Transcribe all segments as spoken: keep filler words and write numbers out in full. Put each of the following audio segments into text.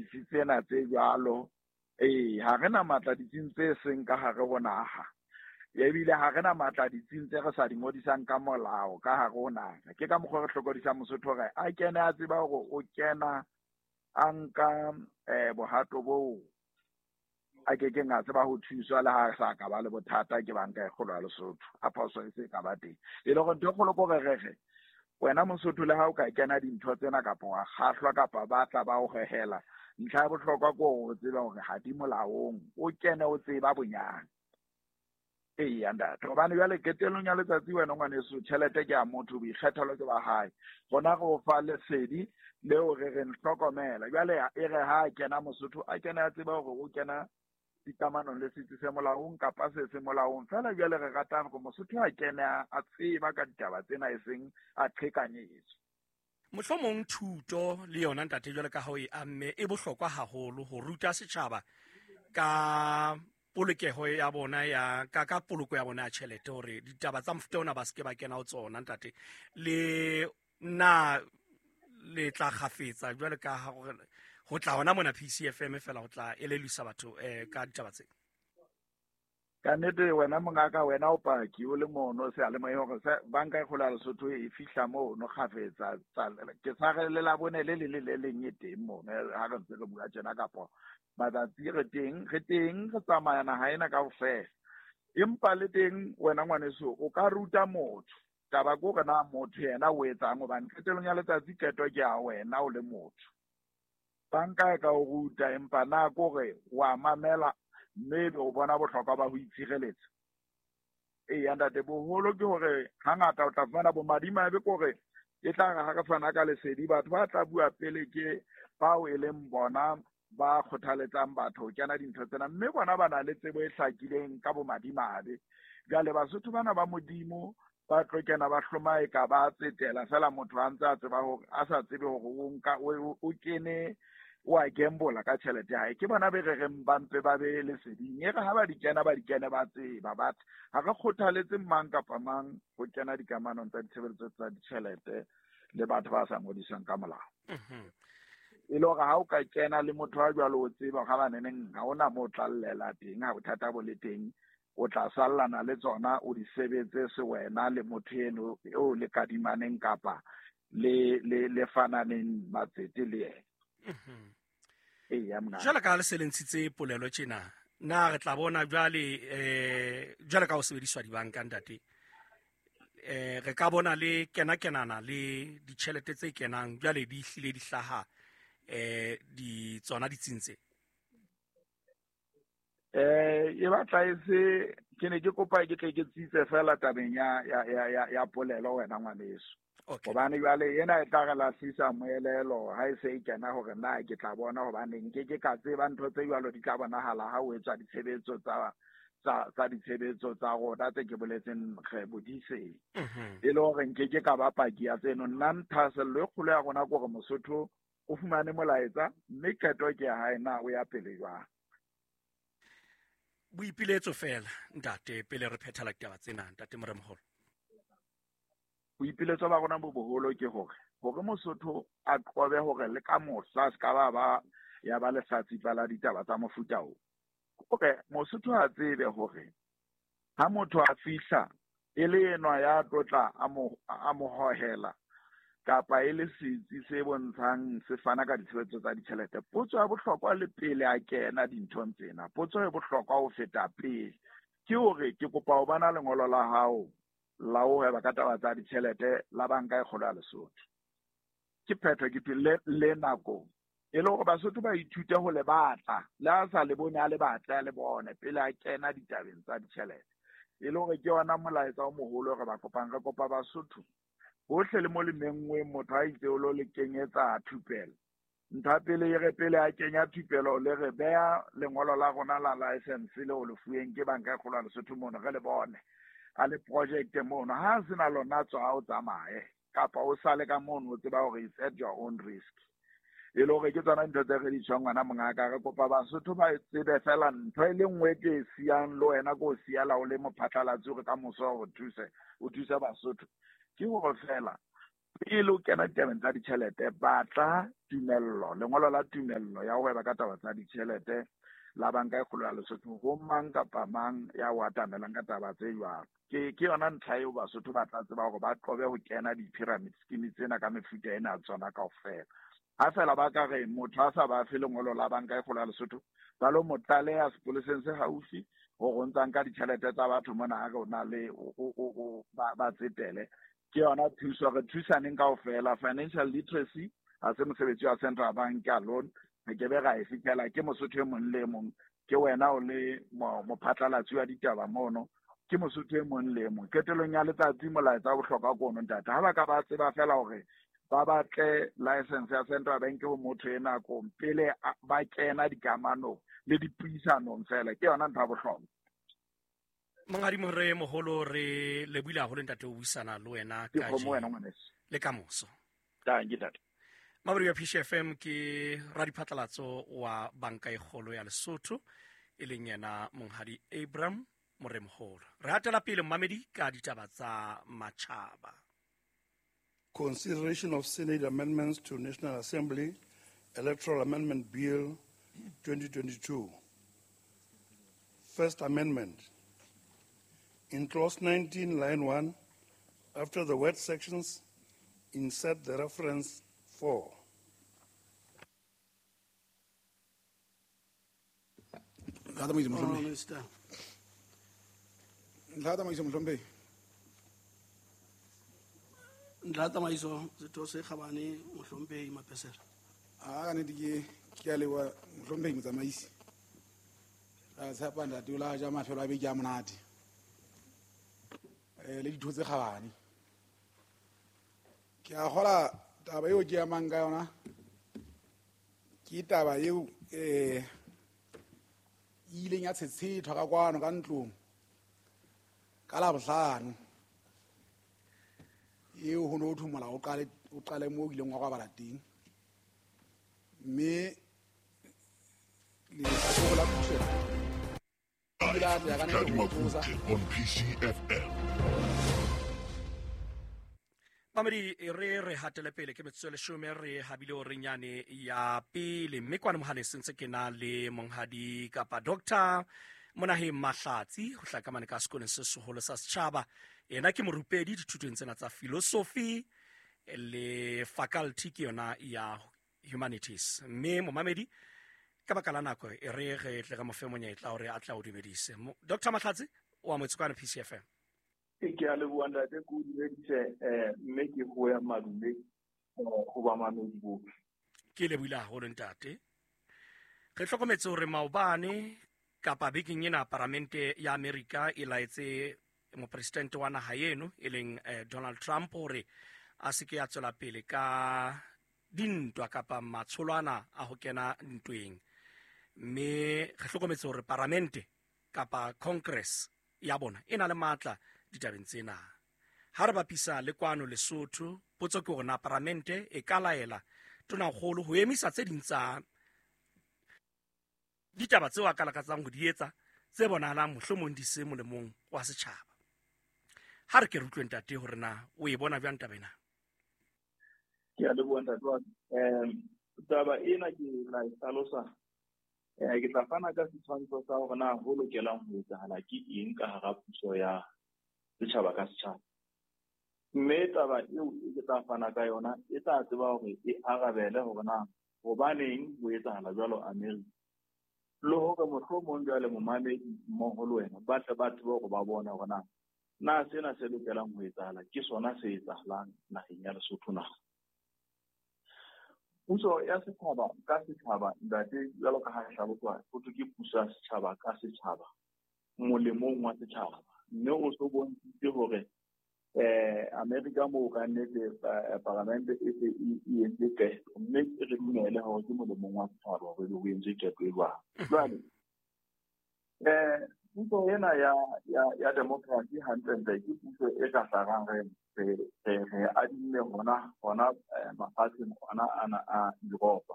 ditsi tsena tse jwalo. Ee, ha re na matla ditsing tse seng ka hare ho naha. Ebile ha re na matla ditsing tse re sa di ngodisang ka molao ka hare ho naha. Ke ka mokgwa re hlokodisang Mosotho hore a kene a tseba hore o kena a nka eh bohato boo a ke keng a tseba ho thuswa le ha sa ka ba le bothata ke banka e kgolo ya Lesotho. A phoso e se ka ba teng. E le hore ntho e kgolo ke hore re re wena Mosotho le ha o ka kena dintho tsena kapa wa kgahlwa kapa ba tla ba o hehela, ntlha ya bohlokwa ke hore o tsebe hore ha di molaong, o kene o tseba bonyane. Eya ntate, hobane jwale qetellong ya letsatsi wena ngwaneso tjhelete ke ya motho, boikgethelo ke ba hae. Rona re o fa lesedi leo re reng hlokomela. Jwale e re ha a kena Mosotho, a kene a tseba hore o kena dikamanong le setsi se molaong kapa se se molaong. Feela jwale re rata hore Mosotho a kene a tseba ka ditaba tsena, e seng a qhekanyetswe. Mohlomong thuto le yona ntate jwale ka ha o e amme e bohlokwa haholo ho ruta setjhaba ka polokeho ya bona ya ka ka poloko ya bona ya tjhelete, hore ditaba tsa mofuta ona ba se ke ba kena ho tsona ntate. Le na le tla kgafetsa jwale ka ha hore ho tla hona mona P C F M fela ho tla elelisa batho eh ka ditaba tse. Ka nnete wena mongaka, wena o paki o le mono seyalemoyeng hore se banka e kgolo ya Lesotho e fihla mono kgafetsa. Ke sa re le Labone le le le le leng e teng mono ha re ntse re bua tjena, kapa matsatsi re teng, re teng re tsamaya naha ena kaofela. Empa le teng wena ngwaneso o ka ruta motho. Taba ke hore na motho yena o etsang, hobane qetellong ya letsatsi qeto ke ya wena o le motho. Banka e ka o ruta, empa na ke hore wa mamela mme ebe o bona bohlokwa ba ho itshireletsa. Eya ntate, boholo ke hore hangata o tla fumana bomadimabe ke hore e tla re ha re fana ka lesedi, batho ba tla bua pele ke bao e leng bona ba kgothaletsang batho ho kena dintho tsena, mme bona ba na le tsebo e hlakileng ka bomadimabe. Jwale Basotho bana ba Modimo ba tlo kena ba hloma e ka ba tsetela fela motho a ntse a tseba hore a sa tsebe hore o nka o, o kene o a gambola ka tjhelete ya hae. Ke bona be re reng ba mpe ba be leseding, e re ha ba di kena ba di kene ba tseba. But ha re kgothaletse mang kapa mang ho kena dikamanong tsa ditshebeletso tsa ditjhelete le batho ba sa ngodiswang ka molao. Mhm. E le hore ha o ka kena le motho a jwalo o tseba hore ha ba neneng ha hona moo o tla llela teng, ha bothata bo le teng, o tla sallana le tsona, o di sebetse se wena le motho eno eo le kadimaneng kapa le, le, le fananeng matsete le yena. Mhm. Eya, mna. Jwale ka ha le se le ntshitse polelo tjena, na re tla bona jwale, eh, jwale ka ho sebediswa dibanka ntate, eh, re ka bona le kena-kenana le ditjhelete tse kenang jwale di hlile di hlaha, eh, di tsona ditsing tse? Eh, e batla e se, ke ne ke kopa ke tle ke tsitse fela tabeng ya, ya, ya, ya, ya polelo wena ngwaneso. Okay. Hobane jwale ena e tla re lahlisa moelelo ha e se e kena hore na ke tla bona, hobane nke ke ka tseba ntho tse jwalo di tla bonahala ha o etswa ditshebetso tsa, tsa, tsa ditshebetso tsa rona tse ke boletseng re bodiseng. Mhm. E le hore nke ke ka ba paki ya tseno. Nna thahasello e kgolo ya rona ke hore Mosotho o fumane molaetsa, mme qeto ke ya hae na o ya pele jwang. Boipiletso fela ntate pele re phethela ditaba tsena ntate Moremoholo. Boipiletso ba rona bo boholo ke hore, hore Mosotho a qobe hore le ka mohla se ka ba ba ya ba lehlatsipa la ditaba tsa mofuta oo. Hore Mosotho a tsebe hore ha motho a fihla e le enwa ya tlotla a mo, a mo hohela kapa e le setsi se bontshang se fana ka ditshebetso tsa ditjhelete, potso ya bohlokwa le pele a kena dinthong tsena, potso e bohlokwa ho feta pele ke hore ke kopa ho bona lengolo la hao la ho hweba ka taba tsa ditjhelete la banka e kgolo ya Lesotho. Ke phetho ke le, le nako e le hore Basotho ba ithute ho le batla, le ha sa le bone a le batle a le bone pele a kena ditabeng tsa ditjhelete. E le hore ke yona molaetsa o moholo re ba kopang, re kopa Basotho bohle le mo le menngweng motho a itse o lo le kenyetsa thupelo. Ntho ya pele e re pele a kenya thupelo le re beha lengolo la rona la license le o le fuweng ke banka e kgolo ya Lesotho mono re le bone a le project mono. Ha se na lona tswa o tsamaye kapa o sale ka mono o tseba hore it's at your own risk. E le hore ke tsona ntho tse re di tjhong ngwana mongaka, re kopa Basotho ba tsebe fela ntho e le nngwe ke e siyang le wena ke o siyela o le mophatlalatsi hore ka moso o thuse, o thuse Basotho. Ke hore fela Pele o kena ditabeng tsa ditjhelete, batla tumello, lengolo la tumello ya ho hweba ka taba tsa ditjhelete la Banka e Kgolo ya Lesotho ho mang kapa mang ya o atamelang ka taba tse jwalo. Ke ke yona ntlha eo Basotho ba tla tseba hore ba qobe ho kena di-pyramid scheme tsena ka mefuta ena ya tsona kaofela. Ha fela ba ka re motho a sa ba fe lengolo la Banka e Kgolo ya Lesotho, ba lo mo tlaleha sepoleseng se haufi hore o ntsa nka ditjhelete tsa batho mona, ha re o na le o ba ba tsetele. Ke yona thuso, re thusaneng kaofela. Financial literacy ha se mosebetsi wa Central Bank alone, re ke be ra e fitlhela ke Mosotho e mong le e mong. Ke wena o le mophatlalatsi wa ditaba mono, ke Mosotho e mong le e mong. Qetellong ya letsatsi molaetsa wa bohlokwa ke ono, ntate. Ha ba ka ba tseba fela hore ba batle license ya Central Bank ho motho e nakong pele ba kena dikamanong le dipuisanong fela, ke yona ntho ya bohlokwa. Monghadi More Moholo, re lebohile haholo ntate ho buisana le wena kajeno le kamoso. Dankie ntate. Mabedi wa P C F M ke radiphatlalatso wa Banka e Kgolo ya Lesotho, e leng yena Monghadi Abram Moremoholo. Re hatela pele mmamedi ka ditaba tsa matjhaba. Consideration of Senate amendments to National Assembly Electoral Amendment Bill twenty twenty-two. First Amendment. In Clause nineteen, Line one, after the word sections, insert the reference four. Ntlha tsamaiso setho se kgabane mohlomphehi Mapesela. A ka nnete ke ke a leboha mohlomphehi motsamaisi. Ra tshepa ntate o la ja mafelo a beke a monate. Eh le ditho tse kgabane. Ke a kgola taba eo ke amang ka yona ke taba eo eh ileng ya tshetshethwa ka kwano ka ntlong ka Labohlano. Eo ho no thwe molao o qale o qale moo o ileng wa kwabala teng, mme le la puso e la ya ka nne ho on P C F M. Mamedi, re re hatele pele ke metsotso e leshome re habile o nyane ya pele, mme kwana mohaleng sentse ke na le monghadi kapa Doctor Monaheng Mahlatsi ho hlaka mane ka sekolong se seholo sa setjhaba. Yena ke morupedi dithutong tsena tsa philosophy le faculty ke yona ya humanities. Mme momamedi ka baka la nako e re re tle re mo fe monyetla hore a tla o dumedise. Doctor Mahlatsi o amotse kwana P C F M. Ke a leboha ntate, ke o dumedise eh mme ke ho ya madume ho ba mamedi bohle. Ke lebohile haholo ntate. Re hlokometse hore maobane kapa bekeng ena paramente ya Amerika e laetse mopresidente wa naha eno e leng eh, Donald Trump hore a se ke a tswela pele ka dintwa kapa matsholwana a ho kena ntweng. Mme re hlokometse hore paramente kapa Congress ya bona e na le matla ditabeng tsena. Ha re bapisa le kwano Lesotho, potso ke hore na paramente e ka laela tonakgolo ho emisa tse ding tsa ditaba tseo a ka lakatsang ho di etsa tse bonahalang mohlomong di se molemong wa setjhaba. Ha re ke re utlwe ntate hore na o e bona jwang taba ena. Ke a leboha ntate wa ka. Um taba ena ke la e hlalosa. Eh ke tla fana ka setshwantsho sa hore na ho lokelang ho etsahala ke eng ka hara puso ya setjhaba ka setjhaba. Mme taba eo ke tla fana ka yona e tla tseba hore e arabele hore na hobaneng ho etsahala jwalo Amerika. Le hore mohlomong jwale momamedi mmoho le wena ba tle ba tsebe hore ba bone hore na na sena se lokelang ho etsahala ke sona se etsahalang naheng ya Lesotho na. Puso ya setjhaba ka setjhaba ntate, jwalo ka ha e hlaloswa ho thwe ke puso ya setjhaba ka setjhaba molemong wa setjhaba. Mme o so bontshitse hore eh Amerika moo ka nnete paramente e se e entse qeto, mme re dumele hore ke molemong wa setjhaba hore ho entswe qeto e jwalo. Jwale eh puso ena ya ya ya democracy hantlentle ke puso e ka hlarang re re re adimme hona hona mafatsheng ona ana a Europa.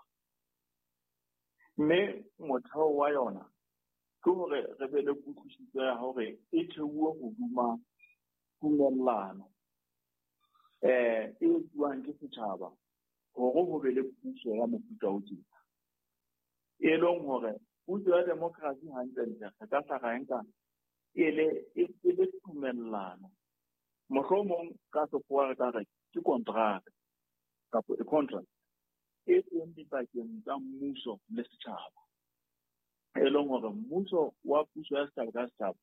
Mme motheo wa yona ke hore re be le kutlwisiso ya hore e theuwe hodima tumellano. eh e etsuwang ke setjhaba hore ho be le puso ya mofuta o tjena. E leng hore puso ya demokrasi hantlentle re ka hla ra e nka e le e le tumellano. Mohlomong ka sekgowa re ka re ke kontraka kapa e contract e teng dipakeng tsa mmuso le setjhaba. E leng hore mmuso wa puso ya setjhaba ka setjhaba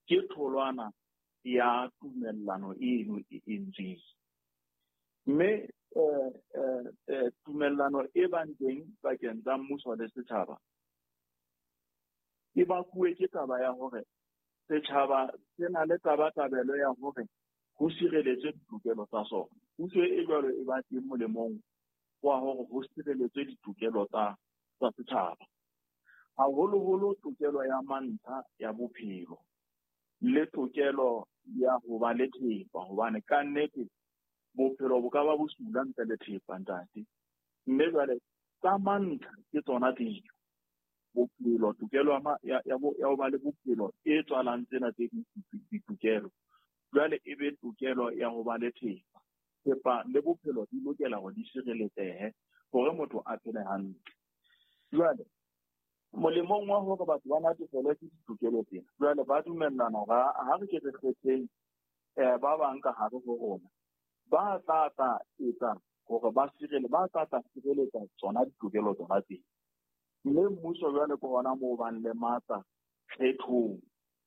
ke tholwana ya tumellano eno e entsweng. Mme eh, eh, eh, tumellano e bang teng pakeng tsa mmuso le setjhaba e bakuwe ke taba ya hore setjhaba se na le tabatabelo ya hore ho sireletswe ditokelo tsa sona. Puso e jwalo e ba teng molemong wa hore ho sireletswe ditokelo tsa tsa setjhaba. Haholoholo tokelo ya mantlha ya bophelo le tokelo ya ho ba le thepa, hobane ka nnete bophelo bo ka ba bosula ntle le thepa ntate. Mme jwale tsa mantlha ke tsona tseo. Bophelo, tokelo ya ya ya ho ba le bophelo e tswalang tsena tse ding ditokelo. Jwale e be tokelo ya ho ba le thepa. Thepa le bophelo di lokela hore di sireletsehe hore motho a phele hantle. Jwale molemong wa hore batho ba natefelwe ke ditokelo tsena, jwale ba dumellana hore ha re ke re kgetheng eh ba bang ka hare ho rona ba tla tla etsa hore ba sirele ba tla tla sireletsa tsona ditokelo tsona tsena. Mme mmuso jwale ke hona moo bang le matla kgethong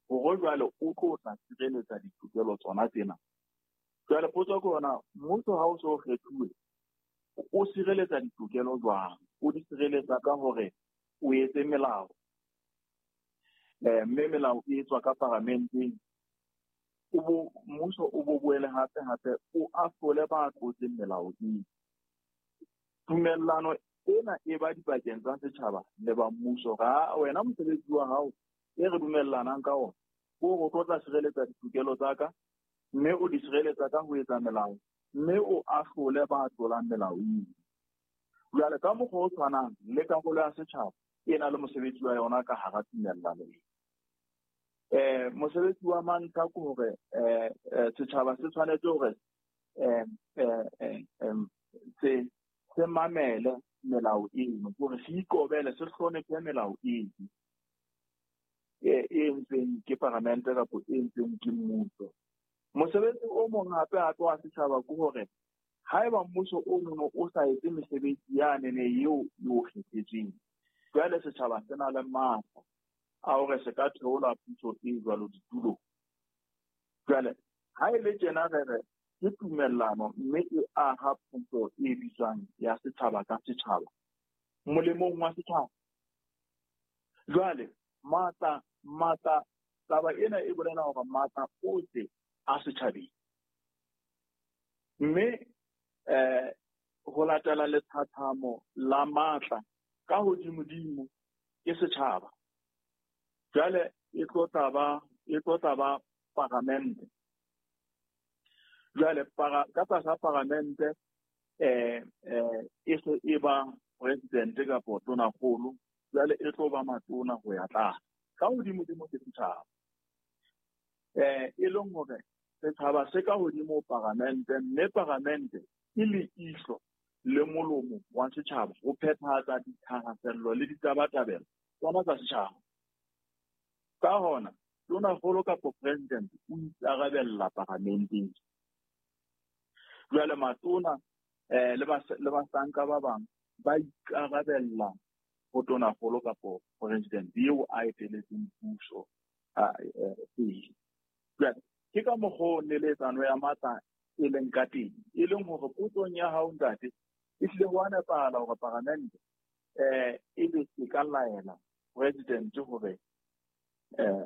hore jwale o tlo tla sireletsa ditokelo tsona tsena. Jwale potso ke hona, mmuso ha o so kgethuwe o sireletsa ditokelo jwang? O di sireletsa ka hore o etse melao. Eh mme melao e etswa ka paramenteng. O bo mmuso o bo boele hape hape o ahlole ba tlotseng melao eo. Tumellano ena e ba dipakeng tsa setjhaba le ba mmuso. Ra wena mosebetsi wa hao e re dumellanang ka ona o re o tlo tla sireletsa ditokelo tsa ka, mme o di sireletsa ka ho etsa melao, mme o ahlole ba tlolang melao eo. Jwale ka mokgwa o tshwanang le karolo ya setjhaba e na le mosebetsi wa yona ka hara tumellano ena. Eh mosebetsi wa mantlha ke hore eh setjhaba se tshwanetse hore eh eh se se mamele melao eno, hore se ikobele, se hlonephe melao eno e entsweng ke paramente kapa e entsweng ke mmuso. Mosebetsi o mong hape hape wa setjhaba ke hore haeba mmuso o nono o sa etse mesebetsi yane eo e o kgethetsweng, jwale setjhaba se na le matla a hore se ka theola puso e jwalo ditulong. Jwale ha e le tjena re re ke tumellano mme e aha puso e bitswang ya setjhaba ka setjhaba molemong wa setjhaba. Jwale matla matla taba ena e bolela hore matla ohle a setjhabeng, mme eh ho latela lethathamo la matla ka hodimodimo ke setjhaba. Jwale e tlo tla ba e tlo tla ba paramente. Jwale para ka tlasa paramente eh eh e se e ba president kapa tonakgolo, jwale e tlo ba matona ho ya tlase. Ka hodimodimo ke setjhaba. Eh e leng hore setjhaba se ka hodimo paramente, mme paramente ke leihlo le molomo wa setjhaba ho phethahatsa dithahasello le ditabatabelo tsona tsa setjhaba. Ka hona tonakgolo kapa president o ikarabella paramenteng. Jwale matona eh le ba le bahlanka ba bang ba ikarabella ho tonakgolo kapa president eo a eteletseng puso a pele. Jwale ke ka mokgwa o neletsano ya matla e leng ka teng, e leng hore potsong ya hao ntate e hlile ho a nepahala hore paramente eh e be e ka laela president hore eh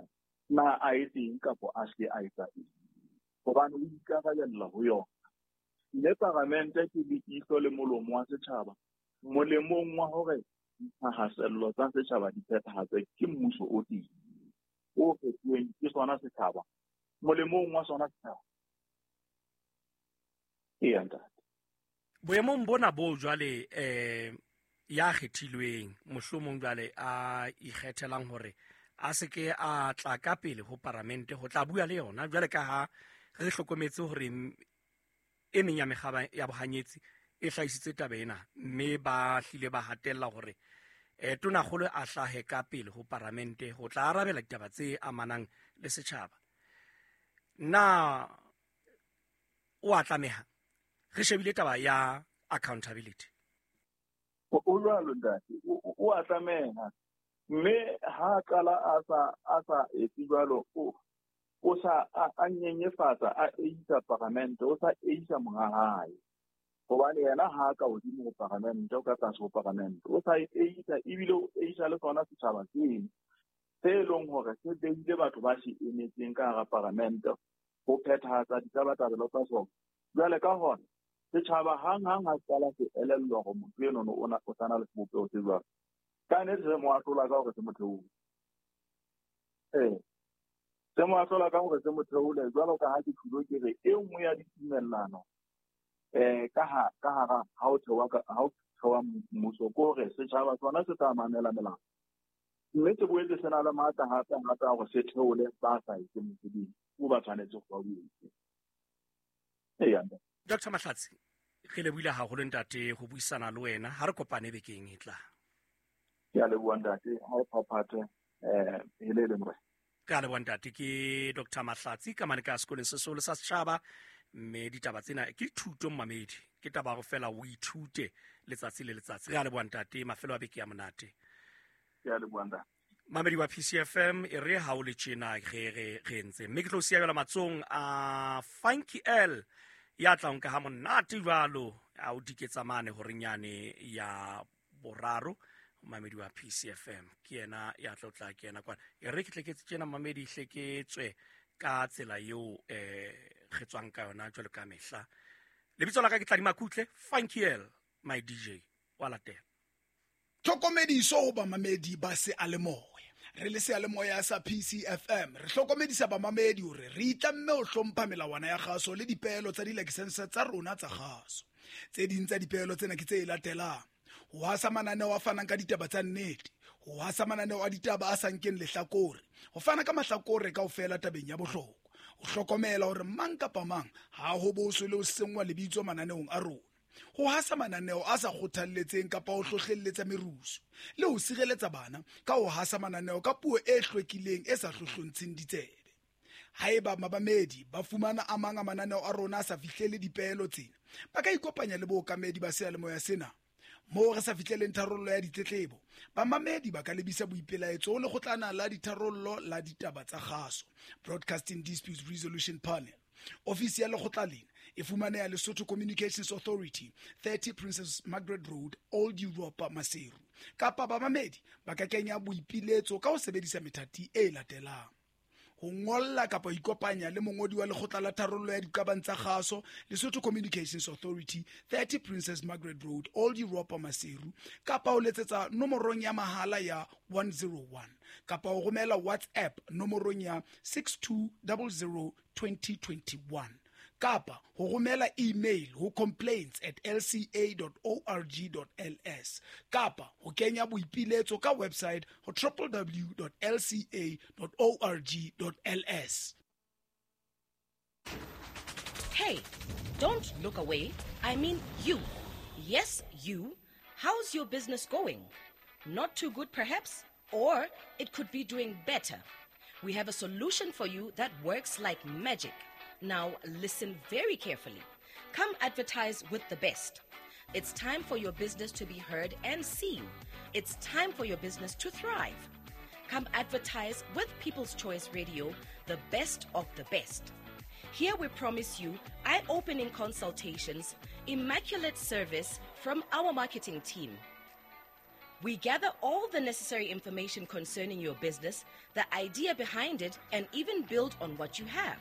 na a etseng kapa a se a etsa eng, hobane o ikarabella ho yona. Mme paramente ke leihlo le molomo wa setjhaba molemong wa hore dithahasello tsa setjhaba di phethahatswe ke mmuso o teng o kgethuweng ke sona setjhaba molemong wa sona setjhaba. Eya ntate. Boemong bona bo jwale eh ya kgethilweng mohlomong jwale a ikgethelang hore a se ke a tla ka pele ho paramente ho tla bua le yona, jwale ka ha re hlokometse hore E meng ya mekgaba ya bohanyetsi e hlahisitse taba ena, mme ba hlile ba hatella hore eh tonakgolo a hlahe ka pele ho paramente ho tla arabela ditaba tse amanang le setjhaba. Na o a tlameha? Re shebile taba ya accountability. O jwalo ntate, o a tlameha. Mme ha qala a sa a sa etse jwalo, o o sa a nyenyefatsa a eisa paramente, o sa eisa monga hae. Hobane yena ha ka hodimo ho paramente, o ka tlase ho paramente, o sa eisa ebile o eisa le sona setjhaba seno se leng hore se behile batho ba se emetseng ka hara paramente ho phethahatsa ditabatabelo tsa sona. Jwale ka hona setjhaba hang-hang ha se qala se elellwa hore motho enono o na o sa na le sebopeho se jwalo, ka nnete se mo ahlola ka hore se mo theole. Ee, se mo ahlola ka hore se mo theole jwalo ka ha ke tjhulo ke re e nngwe ya ditumellano eh ka ha ka hara ha o thewa ka ha o thewa mmuso ke hore setjhaba sona se tla mamela melao, mme se boetse se na le matla hape hape a hore se theole ba sa etseng mosebetsi o ba tshwanetse go ba o etse. Eya. Doctor Mahlatsi, re lebohile haholo ntate ho buisana le wena. Ha re kopane bekeng e tlang. Ke a leboha ntate, ha o phaphathe eh hele le morena. Ke a leboha ntate. Ke Doctor Mahlatsi ka mane ka sekolong se seholo sa setjhaba, mme ditaba tsena ke thuto mmamedi, ke taba ya ho fela o ithute letsatsi le letsatsi. Re a leboha ntate, mafelo a beke ya monate. Ke a leboha ntate. Mamedi wa P C F M, e re ha o le tjena re re re ntse, mme ke tlo siya jwalo matsong a Funky L ya tlang ka ha monate jwalo a o diketsa mane horeng yane ya boraro. Mamedi wa P C F M ke yena ya tlo tla ke yena kwana. E re ke tle ke tjena mamedi hle ke tswe ka tsela eo eh re tswang ka yona jwalo ka mehla. Lebitso la ka ke Tladi Makutle, Funky L, my D J wa latela. Tlhokomediso ho bamamedi ba seyalemoya. Re le seyalemoya sa P C F M re hlokomedisa bamamedi hore re itlamme ho hlompha melawana ya kgaso le dipeelo tsa dilakesense tsa rona tsa kgaso. Tse ding tsa dipeelo tsena ke tse latelang: ho hasa mananeo a fanang ka ditaba tsa nnete, ho hasa mananeo a ditaba a sa nkeng lehlakore, ho fana ka mahlakore kaofela tabeng ya bohlokwa, ho hlokomela hore mang kapa mang ha ho boswe le ho senngwa lebitso mananeong a rona, ho hasa mananeo a sa kgothalletseng kapa ho hlohlelletsa merusu, le ho sireletsa bana ka ho hasa mananeo ka puo e hlwekileng e sa hlohlontsheng ditsebe. Haeba mabamedi ba fumana a mang a mananeo a rona a sa fihlele dipeelo tsena, ba ka ikopanya le bookamedi ba seyalemoya sena. Moo re sa fihleleng tharollo ya ditletlebo, bamamedi ba ka lebisa boipelaetso ho lekgotlana la ditharollo la ditaba tsa kgaso, Broadcasting Disputes Resolution Panel. Ofisi ya lekgotla lena e fumaneha Lesotho Communications Authority, thirty Princess Margaret Road, Old Europa, Maseru. Kapa bamamedi ba ka kenya boipiletso ka ho sebedisa methati e latelang: ho ngolla kapa ho ikopanya le mongodi wa lekgotla la tharollo ya diqabang tsa kgaso, Lesotho Communications Authority, thirty Princess Margaret Road, Old Europa, Maseru, kapa ho letsetsa nomorong ya mahala ya one zero one, kapa ho romela WhatsApp nomorong ya six two zero zero twenty twenty-one, kapa ho romela email ho complaints at l c a dot org dot l s, kapa ho kenya boipiletso ka website ho w w w dot l c a dot org dot l s. Hey, don't look away. I mean you. Yes, you. How's your business going? Not too good, perhaps? Or it could be doing better. We have a solution for you that works like magic. Now, listen very carefully. Come advertise with the best. It's time for your business to be heard and seen. It's time for your business to thrive. Come advertise with People's Choice Radio, the best of the best. Here we promise you eye-opening consultations, immaculate service from our marketing team. We gather all the necessary information concerning your business, the idea behind it, and even build on what you have.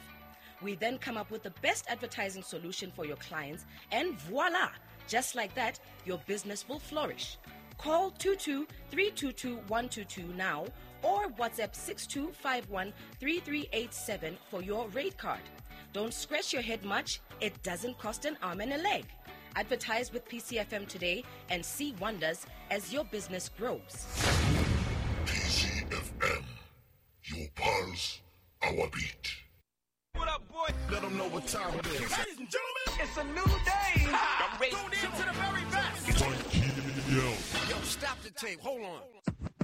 We then come up with the best advertising solution for your clients, and voila! Just like that, your business will flourish. Call two two three two two one two two now or WhatsApp six two five one three three eight seven for your rate card. Don't scratch your head much. It doesn't cost an arm and a leg. Advertise with P C F M today and see wonders as your business grows. P C F M, your pulse, our beat. What up, boy? Let them know what time it is. Ladies and gentlemen. It's a new day. I'm ready. Tune in to the very best. It's on K D L. Yo, stop the tape. Hold on.